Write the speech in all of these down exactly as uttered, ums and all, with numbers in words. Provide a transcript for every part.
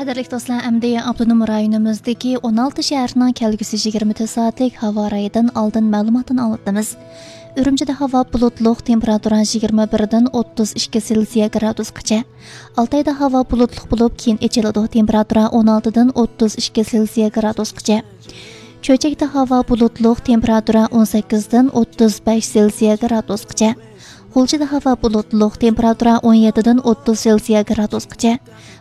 قەدىرلىك دوستلار، ئەمدى ئاپتونوم رايونىمىزدىكى ئون ئالتە شەھەرنىڭ كەلگۈسى يىگىرمە تۆت سائەتلىك ھاۋا رايىدىن ئالدىن مەلۇماتىنى ئاڭلىتىمىز. ئۈرۈمچىدە ھاۋا بۇلۇتلۇق، تېمپېراتۇرا يىگىرمە بىردىن ئوتتۇز ئىككى سېلسىيە گرادۇسقىچە. ئالتايدا ھاۋا بۇلۇتلۇق بولۇپ، كېيىن ئېچىلىدۇ، تېمپېراتۇرا ئون ئالتىدىن ئوتتۇز ئىككى سېلسىيە گرادۇسقىچە. چۆچەكتە ھاۋا بۇلۇتلۇق، تېمپېراتۇرا ئون سەككىزدىن ئوتتۇز بەش سېلسىيە گرادۇسقىچە. غۇلجىدا ھاۋا بۇلۇتلۇق، تېمپېراتۇرا ئون يەتتىدىن ئوتتۇز سېلسىيە گرادۇسقىچە.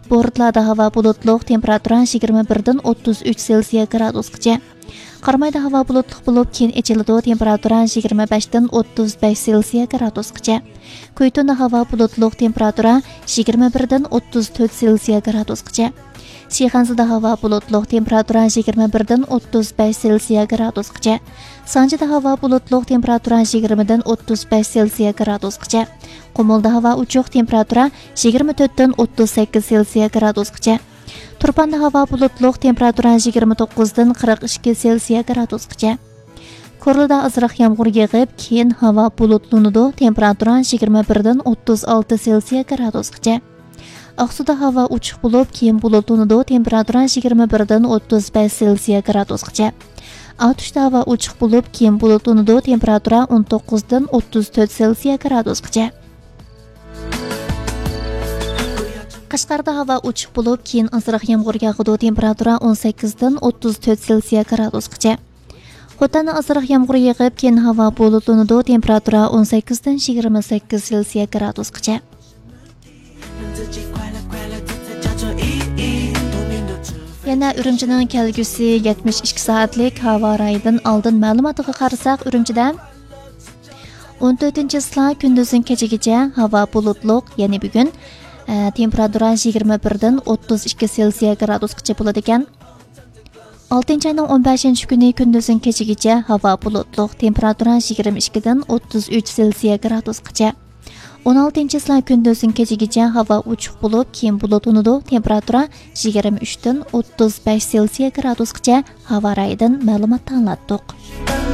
بورتلادا ھاۋا بۇلۇتلۇق، تېمپېراتۇرا يىگىرمە بىردىن ئوتتۇز ئۈچ سېلسىيە گرادۇسقىچە. قارامايدا ھاۋا بۇلۇتلۇق بولۇپ، كېيىن ئېچىلىدۇ، تېمپېراتۇرا يىگىرمە بەشتىن ئوتتۇز بەش سېلسىيە گرادۇسقىچە. كۇيتۇندا ھاۋا بۇلۇتلۇق، تېمپېراتۇرا يىگىرمە بىردىن ئوتتۇز تۆت سېلسىيە گرادۇسقىچە. شىخەنزىدە ھاۋا بۇلۇتلۇق، تېمپېراتۇرا يىگىرمە بىردىن ئوتتۇز بەش سېلسىيە گرادۇسقىچە. سانجىدا ھاۋا بۇلۇتلۇق، تېمپېراتۇرا يىگىرمىدىن ئوتتۇز بەش سېلسىيە گرادۇسقىچە. قۇمۇلدا ھاۋا ئوچۇق، تېمپېراتۇرا يىگىرمە تۆتتىن ئوتتۇز سەككىز سېلسىيە گرادۇسقىچە. تۇرپاندا ھاۋا بۇلۇتلۇق، تېمپېراتۇرا يىگىرمە توققۇزدىن قىرىق ئىككى سېلسىيە گرادۇسقىچە. كورلىدا ئازراق يامغۇر يېغىپ، كېيىن ھاۋا بۇلۇتلىنىدۇ، تېمپېراتۇرا يىگىرمە بىردىن ئوتتۇز ئالتە سېلسىيە گرادۇسقىچە. ئاقسۇدا ھاۋا ئوچۇق بولۇپ، كېيىن بۇلۇتلىنىدۇ، تېمپېراتۇرا يىگىرمە بىردىن ئوتتۇز بەش سېلسىيە گرادۇسقىچە. ئاتۇشتا ھاۋا ئوچۇق بولۇپ، كېيىن بۇلۇتلىنىدۇ، تېمپېراتۇرا ئون توققۇزدىن ئوتتۇز تۆت سېلسىيە گرادۇسقىچە. قەشقەردە ھاۋا ئوچۇق بولۇپ، كېيىن ئازراق يامغۇر ياغىدۇ، تېمپېراتۇرا ئون سەككىزدىن ئوتتۇز تۆت سېلسىيە گرادۇسقىچە. خوتەندە ئازراق يامغۇر يېغىپ، كېيىن ھاۋا بۇلۇتلىنىدۇ، تېمپېراتۇرا ئون سەككىزدىن يىگىرمە سەككىز سېلسىيە گرادۇسقىچە. يەنە ئۈرۈمچىنىڭ كەلگۈسى يەتمىش ئىككى سائەتلىك ھاۋا رايىدىن ئالدىن مەلۇماتىغا قارىساق، ئۈرۈمچىدە ئون تۆتىنچى چىسلا كۈندۈزدىن كېچىگىچە ھاۋا بۇلۇتلۇق، يەنى بۈگۈن، ئە، تېمپېراتۇرا يىگىرمە بىردىن ئوتتۇز ئىككى سېلسىيە گرادۇسقىچە بولىدىكەن. ئالتىنچى ئاينىڭ ئون بەشىنچى كۈنى كۈندۈزدىن كېچىگىچە ھاۋا بۇلۇتلۇق، تېمپېراتۇرا يىگىرمە ئىككىدىن ئوتتۇز ئۈچ سېلسىيە گرادۇسقىچە. ئون ئالتىنچى چىسلا كۈندۈزدىن كېچىگىچە ھاۋا ئوچۇق بولۇپ، كېيىن بۇلۇتلىنىدۇ، تېمپېراتۇرا يىگىرمە ئۈچتىن ئوتتۇز بەش سېلسىيە گرادۇسقىچە. ھاۋا رايىدىن مەلۇمات ئاڭلاتتۇق.